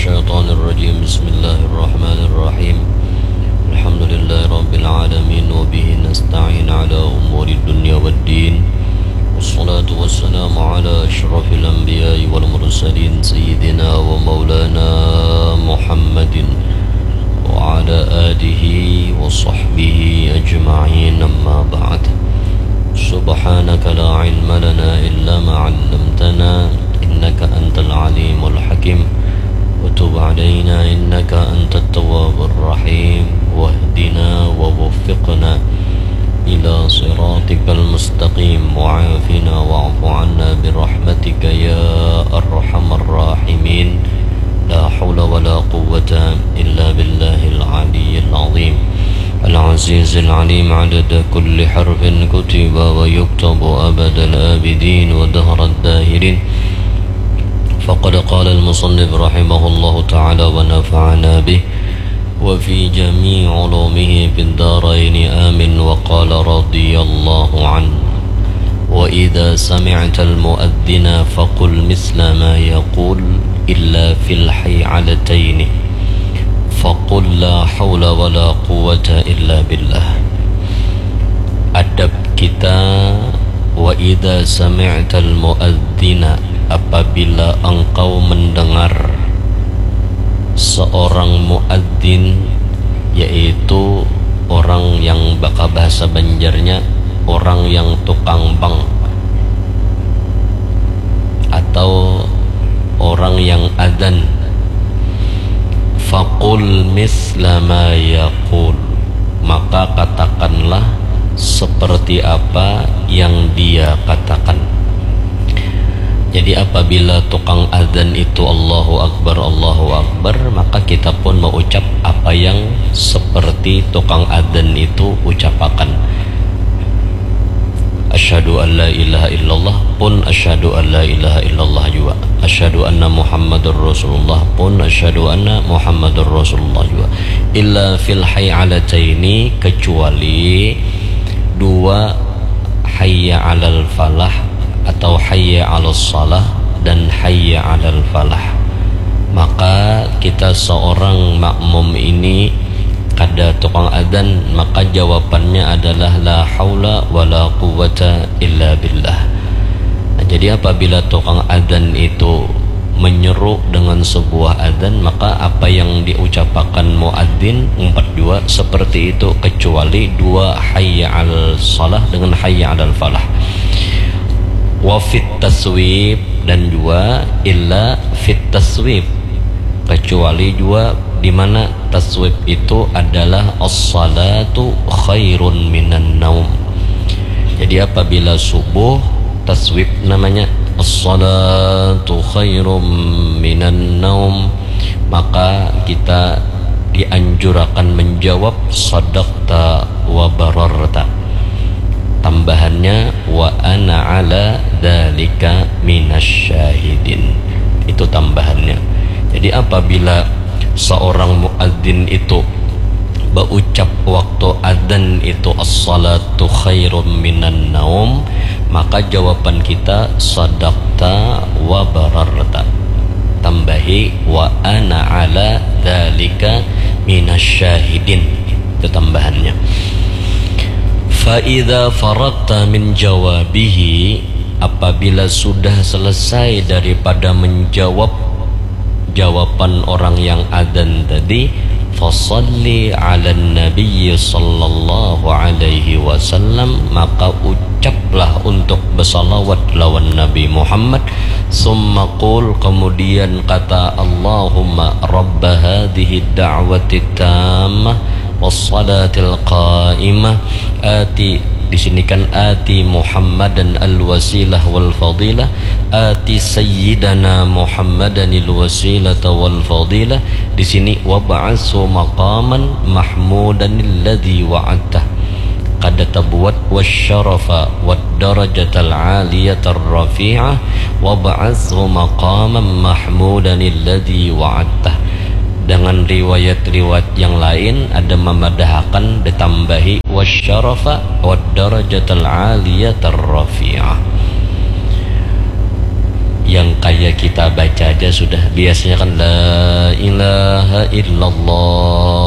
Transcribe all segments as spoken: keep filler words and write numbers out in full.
الشيطان الرجيم. بسم الله الرحمن الرحيم. الحمد لله رب العالمين، وبه نستعين على أمور الدنيا والدين. والصلاة والسلام على أشرف الأنبياء والمرسلين، سيدنا ومولانا محمد وعلى آله وصحبه أجمعين. أما بعد. سبحانك لا علم لنا إلا ما علمتنا، إنك أنت العليم الحكيم. وتب علينا إنك أنت التواب الرحيم. واهدنا ووفقنا إلى صراطك المستقيم. وعافنا واعف عنا برحمتك يا أرحم الراحمين. لا حول ولا قوة إلا بالله العلي العظيم. العزيز العليم عدد كل حرف كتب ويكتب أبد الآبدين ودهر الداهرين. فقد قال المصنف رحمه الله تعالى ونفعنا به وفي جميع علومه في الدارين، آمين. وقال رضي الله عنه: وإذا سمعت المؤذن فقل مثل ما يقول إلا في الحيعلتين، فقل لا حول ولا قوة إلا بالله. Adab kita, wa idza sami'tal muadzina, apabila engkau mendengar seorang muadzin, yaitu orang yang baka bahasa Banjarnya orang yang tukang bang atau orang yang adzan. Faqul misla ma yaqul, maka katakanlah seperti apa yang dia katakan. Jadi apabila tukang adzan itu Allahu Akbar, Allahu Akbar, maka kita pun mengucap apa yang seperti tukang adzan itu ucapakan. Asyhadu an la ilaha illallah pun asyhadu an la ilaha illallah jua. Asyhadu anna Muhammadar Rasulullah pun asyhadu anna Muhammadar Rasulullah jua. Illa fil hay'alataini, kecuali dua hayya alal falah atau hayya alal salah dan hayya alal falah. Maka kita seorang makmum ini kada tukang adzan, maka jawabannya adalah la haula wala quwwata illa billah. Nah, jadi apabila tukang adzan itu menyeru dengan sebuah adzan, maka apa yang diucapakan muadzin umpat jua seperti itu, kecuali dua hayya al salah dengan hayya alal falah. Wa fit taswib, dan jua illa fit taswib, kecuali jua di mana taswib itu adalah as-salatu khairun minan naum. Jadi apabila subuh, taswib namanya, as-salatu khairum minan naum, maka kita dianjurakan menjawab sadaqta wa bararta. Tambahannya, wa ana ala dzalika minasy syahidin. Itu tambahannya. Jadi apabila seorang muadzin itu baucap waktu adzan itu as-salatu khairum minan naum, maka jawaban kita sadaqta wa bararta. Tambahi wa ana ala dzalika minasy syahidin. Itu tambahannya. Fa idza faragta min jawabihi, apabila sudah selesai daripada menjawab jawaban orang yang adzan tadi, fasalli ala nabiyyi sallallahu alaihi wasallam, maka ucaplah untuk bersalawat lawan Nabi Muhammad, summa qul, kemudian kata, Allahumma rabba hadhihi da'wati tammah was salatil qaimah, ati, di sini kan ati Muhammadan al wasilah wal fadilah, ati sayyidana Muhammadanil wasilata wal fadilah, di sini wab'atsu maqaman mahmudanil ladzi wa'adtah. Kada tabuat wasyarafa wad darajatal aliyatar rafi'ah wab'atsu maqaman mahmudanil ladzi wa'adtah. Dengan riwayat-riwayat yang lain ada mamadahakan ditambahi wasyarafa wad darajatal aliyatar rafi'ah. Yang kaya kita baca aja sudah biasanya kan la ilaha illallah,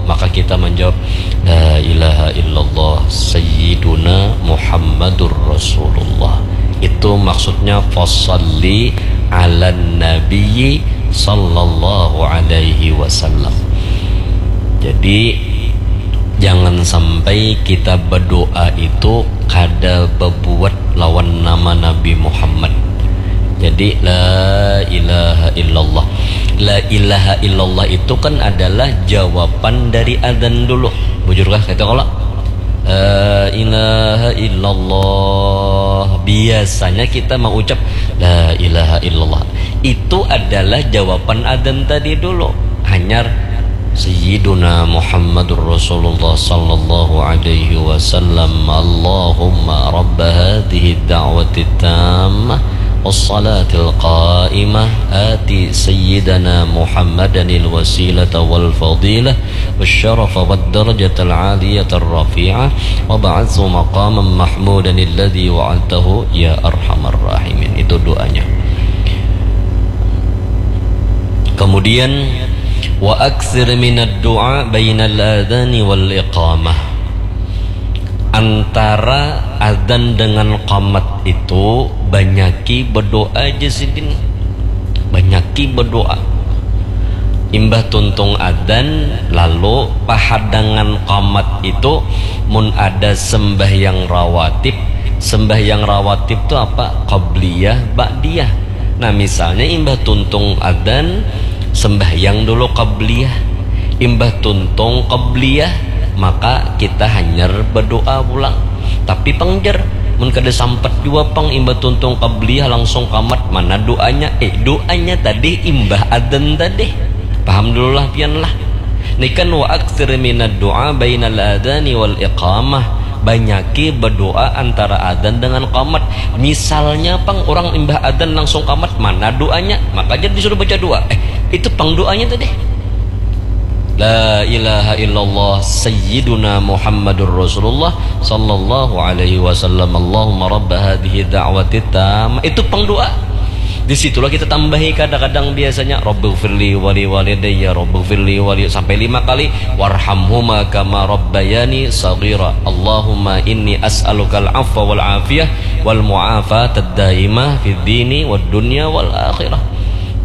maka kita menjawab la ilaha illallah sayyiduna Muhammadur Rasulullah. Itu maksudnya fasalli ala nabiyyi sallallahu alaihi wasallam. Jadi jangan sampai kita berdoa itu kada berbuat lawan nama Nabi Muhammad. Jadi la ilaha illallah. La ilaha illallah itu kan adalah jawaban dari adzan dulu. Bujurkah kata kalau la ilaha illallah, biasanya kita mengucap la ilaha illallah. Itu adalah jawaban adzan tadi dulu. Hanyar Sayyiduna Muhammadur Rasulullah sallallahu alaihi wasallam. Allahumma rabba hadhihi da'wati tammah wassalatil qaimah ati sayyidana Muhammadanil wasilata wal fadilah wasyarafa wad darajatal aliyatar rafi'ah wa ba'athu maqaman mahmudanil ladzi wa'adtahu ya arhamar rahimin. Itu doanya. Kemudian wa aktsir minad du'a bainal adzani wal iqamah. Antara adzan dengan qamat itu banyaki berdoa aja sidin. Banyaki berdoa. Imbah tuntung adzan lalu pahadangan qamat itu mun ada sembahyang rawatib. Sembahyang rawatib tu apa? Qabliyah, ba'diyah. Nah, misalnya imbah tuntung adzan, sembahyang dulu qabliyah. Imbah tuntung qabliyah, maka kita hanyar berdoa pulang. Tapi pang jar, mun kada sampat jua pang imbah tuntung qabliyah langsung qamat, mana doanya? Eh, doanya tadi imbah adzan tadi. Paham dulu lah pian lah. Ni kan wa aktsir minad du'a bainal adzani wal iqamah. Banyaki berdoa antara adzan dengan qamat. Misalnya pang orang imbah adzan langsung qamat, mana doanya? Maka jadi disuruh baca doa. Eh, itu pang doanya tadi. La ilaha illallah sayyiduna Muhammadur Rasulullah sallallahu alaihi wasallam. Allahumma rabba hadhihi da'wati tammah. Itu pang doa. Di situlah kita tambahi kadang-kadang biasanya Rabbighfirli wali walidayya, Rabbighfirli wali sampai lima kali, warhamhuma kama rabbayani saghira. Allahumma inni as'alukal afwa wal afiyah wal mu'afatad daimah fid dini wad dunya wal akhirah.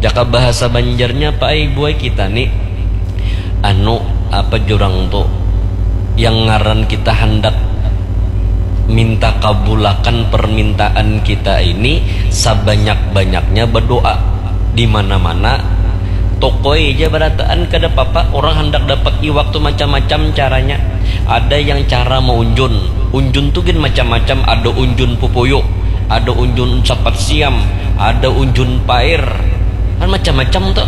Jaka bahasa Banjarnya paai buai kita ni anu apa jurang tu yang ngaran kita handak minta kabulakan permintaan kita ini sabanyak-banyaknya berdoa di mana-mana tokoi aja barataan kada papa orang handak dapat iwak tu macam-macam caranya ada yang cara maunjun unjun tu gin macam-macam ada unjun pupuyu ada unjun sapat siam ada unjun pair kan macam-macam tu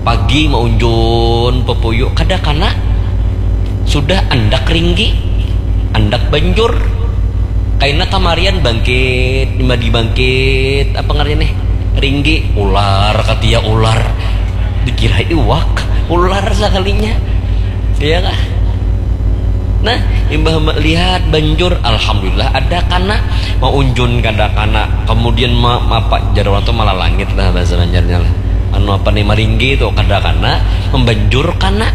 pagi maunjun pupuyu kada kana sudah andak ringgi andak banjur kaina kamarian bangkit madi bangkit apa ngarannya nih ringgi ular katia ular dikira iwak ular sakalinya iya kah nah imbah melihat banjur alhamdulillah ada kana maunjun kada kana kemudian ma, apa jar orang tu malalangit lah bahasa banjarnya lah anu apa nih maringgi tu kada kana membanjur kana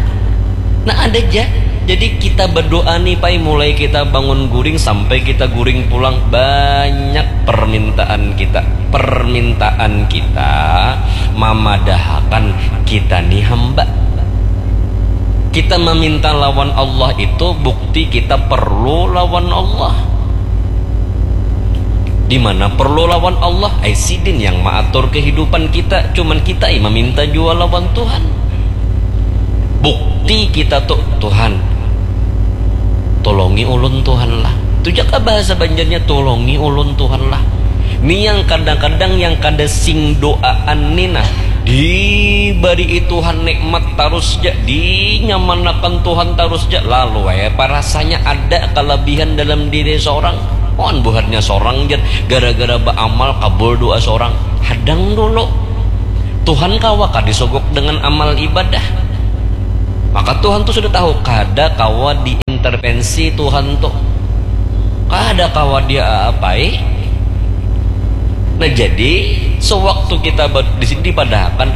nah ada aja jadi kita berdoa nih pai mulai kita bangun guring sampai kita guring pulang banyak permintaan kita permintaan kita mamadahakan kita nih hamba kita meminta lawan Allah itu bukti kita perlu lawan Allah di mana perlu lawan Allah ai sidin yang maatur kehidupan kita cuman kita yang meminta jua lawan Tuhan bukti kita tuh Tuhan tolongi ulun Tuhan lah itu jaka bahasa Banjarnya tolongi ulun Tuhan lah ini yang kadang-kadang yang kada sing doaan ni nah dibari Tuhan nikmat tarus ja dinyamanakan Tuhan tarus ja lalu ya parasanya ada kelebihan dalam diri seorang on buharnya seorang jar gara-gara beramal kabul doa seorang hadang dulu Tuhan kawa kah disogok dengan amal ibadah maka Tuhan tuh sudah tahu kada kawa diintervensi Tuhan tuh kada kawa dia apai Nah, jadi sewaktu kita di sini dipadahakan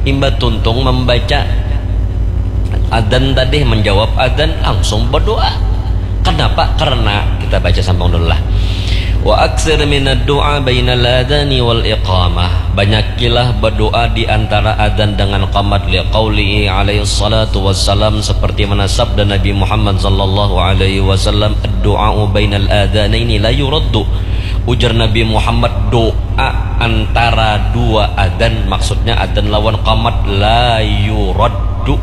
imbah tuntung membaca adzan tadi, menjawab adzan, langsung berdoa. Kenapa? Karena kita baca sambung dulu lah. Wa aksir minad du'a bainal adani wal iqamah. Banyakilah berdoa di antara adzan dengan qamat, liqaulihi alaihi salatu wassalam, seperti mana sabda Nabi Muhammad sallallahu alaihi wasallam, "Ad-du'a'u bainal adzanaini la yuraddu." Ujar Nabi Muhammad, doa antara dua adzan, maksudnya adzan lawan qamat, la yuraddu,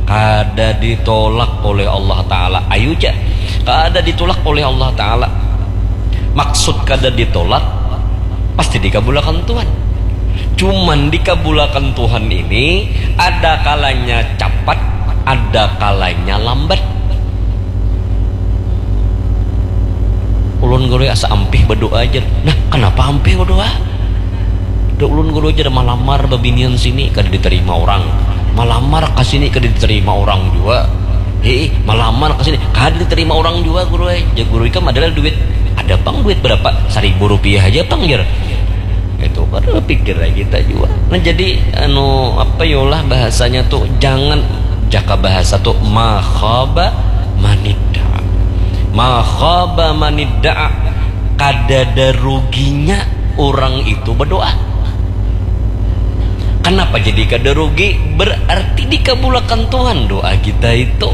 kada ditolak oleh Allah Ta'ala. Ayu ja, kada ditolak oleh Allah Ta'ala. Maksud kada ditolak, pasti dikabulakan Tuhan. Cuman dikabulakan Tuhan ini ada kalanya capat, ada kalanya lambat. Ulun guru asa ampih berdoa aja. Nah, kenapa ampih berdoa? Ada ulun guru aja malamar babinian sini, kada diterima orang. Malamar ke sini, kada diterima orang juga. Hei, malamar ke sini, kada diterima orang juga, guru. Aja guru ikam adalah duit. Ada pang duit berapa? Seribu rupiah aja pang, jar. Itu kan pikir lagi kita juga. Nah, jadi anu apa yolah bahasanya tuh, jangan, jaka bahasa tuh, ma khaba manidda. Ma khaba manidda. Kadada ruginya orang itu berdoa. Kenapa jadi kada rugi? Berarti dikabulakan Tuhan doa kita itu.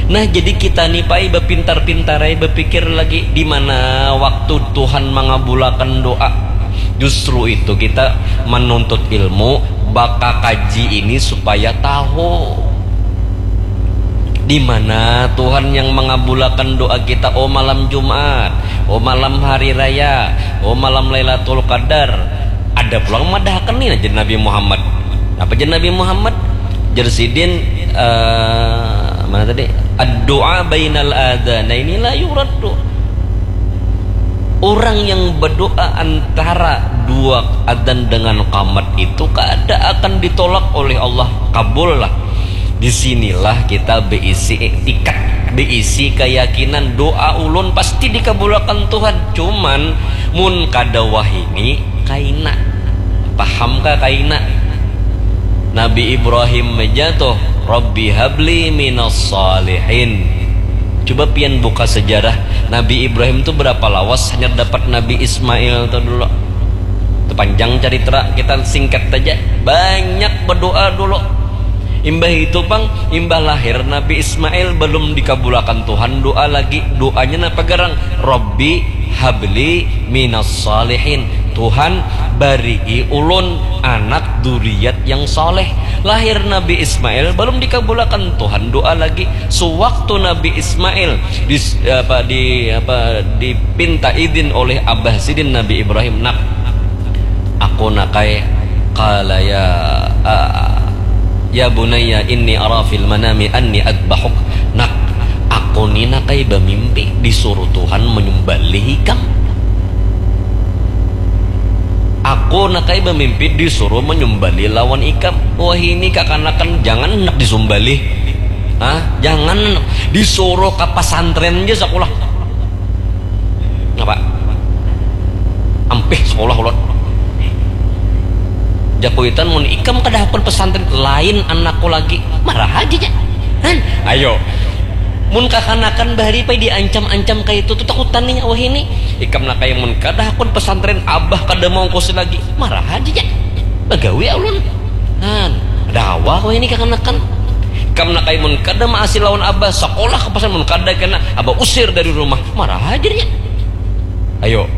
Nah, jadi kita nih pai bapintar-pintar ai, bapikir lagi di mana waktu Tuhan mangabulakan doa. Justru itu kita menuntut ilmu, bakakaji ini supaya tahu di mana Tuhan yang mangabulakan doa kita, oh malam Jumat, oh malam hari raya, oh malam Lailatul Qadar. Ada pulang madahakan nih, jar Nabi Muhammad. Apa jar Nabi Muhammad? Jar sidin, eh, mana tadi? Ad-du'a bainal adzanaini la yuraddu. Orang yang berdoa antara dua adzan dengan qamat itu kada akan ditolak oleh Allah. Kabul lah. Di sinilah kita beisi iktikat, beisi keyakinan, doa ulun pasti dikabulakan Tuhan. Cuman mun kada wahini, kaina. Paham kah kaina? Nabi Ibrahim aja tuh, "Rabbi habli minas salihin." Coba pian buka sejarah Nabi Ibrahim tuh berapa lawas hanya dapat Nabi Ismail tuh dulu. Itu panjang cerita, kita singkat aja. Banyak berdoa dulu. Imbah itu pang, imbah lahir Nabi Ismail belum dikabulakan Tuhan doa lagi. Doanya napa garang? Rabbi habli minas salihin. Tuhan, barii ulun anak duriat yang saleh. Lahir Nabi Ismail belum dikabulakan Tuhan doa lagi. Sewaktu Nabi Ismail dis, apa di apa dipinta izin oleh abah sidin Nabi Ibrahim, nak, aku nakai, qala ya, ah, ya bunayya inni ara fil manami anni adbahuk. Nak, aku ni nakai bamimpi disuruh Tuhan menyembelih ikam. Aku nakai bamimpi disuruh menyembelih lawan ikam. Wah, ini kakanakan jangan nak disembelih. Hah? Jangan disuruh ke pesantren aja sekolah. Apa? Ampih sekolah ulun. Jakuitan mun ikam kada hakun pesantren lain anakku lagi. Marah aja nya. Han? Ayo. Mun kakanakan bahari pai diancam-ancam kayak itu tuh takutan nih wah ini. Ikam nak kayak mun kada hakun pesantren abah kada mau kosi lagi. Marah aja nya. Bagawi ulun. Han. Ada awak wah ini kakanakan. Ikam nak kayak mun kada maasi lawan abah sekolah ke pesantren mun kada kena abah usir dari rumah. Marah aja nya. Ayo.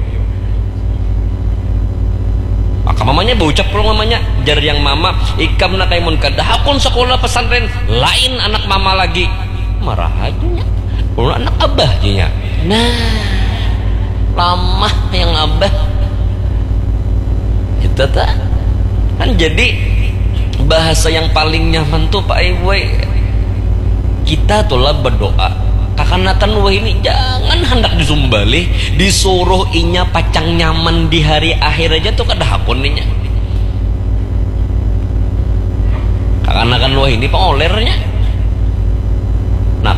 Maka mamanya baucap pulang mamanya, jar yang mama, ikam nak kayak mun kada hakun sekolah pesantren lain anak mama lagi. Marah aja nya. Ulun anak abah aja nya. Nah, lamah yang abah. Kita tak kan jadi bahasa yang paling nyaman tuh Pak Ibu. Kita tuh lah berdoa. Kakanakan wah ini jangan hendak disumbalih, disuruh inya pacang nyaman di hari akhir aja tuh kada hakun inya. Kakanakan wah ini pengolernya. Nak,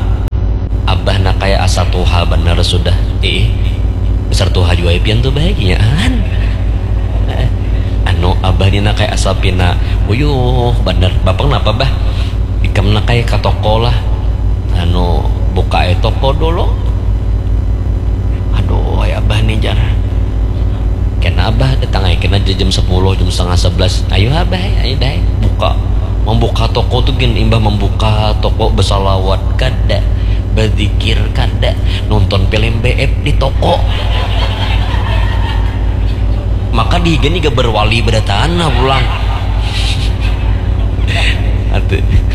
abah nak kayak asa tuha bener sudah. Ih. Besar tuha jua pian tuh bahagiaan. Anu abah ni nak kayak asal pina uyuh bener. Bapak kenapa bah? Ikam nak kayak ke toko lah. Anu buka aja toko dulu. Aduh ya abah nih jar. Kena abah datang aja kena jam sepuluh jam setengah sebelas. Ayo abah ayo deh buka. Membuka toko tuh gin imbah membuka toko bersalawat kada, berzikir kada, nonton film B F di toko. Maka di gini gak berwali berdatangan lah pulang. Atuh.